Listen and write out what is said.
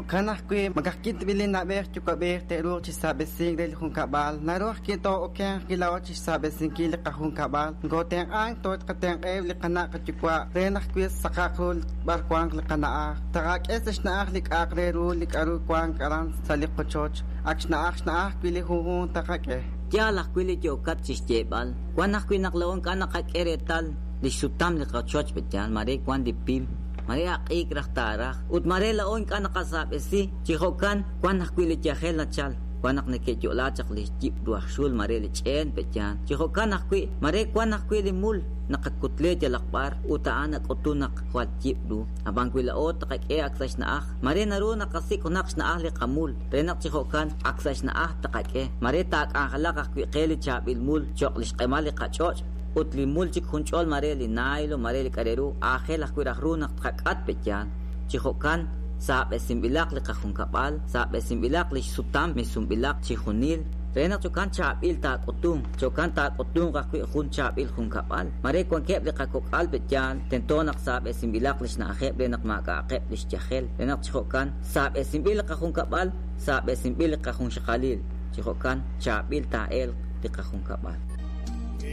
Jo'kan ajwi', ma ka'ajwi' tab'i' li na'b'ej yuwa'b'ej te'ruuq chi saab'esink re li junkab'al, naru ajwi' too'okenq ajwi' laa'o chi xsaab'esinkil li qajunkab'al, nokootenq'ank tooqatenq'aheb' li qana' qayuwa' re naq wi' saqaq ru b'ar wanq li qana'aj, taqak'e sa' xna'aj li k'a'aq re ru li k'aru wank aran sa' li qochoch, ak xna'aj xna'aj wi' li junjunq taqak'e. Yaal ajwi' li yookat chi xyeeb'al, wan ajwi' naq laa'o ink'a' naqak'e reetal li xsutam li qochoch pe'yaal, mare wan li pim, mare aq'iik raj taaraj, ut mare laa'o ink'a' naqasaab'esi, chi jo'kan wan ajwi' li yajel nachal, wan naq neke'yo'la chaq li yib' ru aj xul mare li ch'een pe'yaal, chi jo'kan ajwi' mare wan ajwi' li mul naqakutle yalaq b'ar ut a'an nak'utun naq jwal yib' ru, ab'an wi laa'o taqak'e ak sa' xna'aj, mare naru naqasik' junaq xna'aj li qamul re naq chi jo'kan ak sa' xna'aj taqak'e, mare taak'anjelaq ajwi' qe li chaab'il mul cho'q li xq'emal li qach'och' ut li mul chik junch'ol mare li naylo, mare li k'a' re ru, aajel ajwi' raj ru naq tqak'at pe'yaal, chi jo'kan saab'esinb'ilaq li qajunkab'al, saab'esinb'ilaq li xsutam misunb'ilaq chi junil, re naq jo'kan chaab'il taak'utunq, jo'kan taak'utunq ajwi' jun chaab'il junkab'al, mare wankeb' li qakok'al pe'yaal, tento naq saab'esinb'ilaq li xna'ajeb' re naq maak'a'aqeb' li xyajel, re naq chi jo'kan saab'esinb'il li qajunkab'al, saab'esinb'il li qajunxaqalil, chi jo'kan chaab'il taa'elq li qajunkab'al.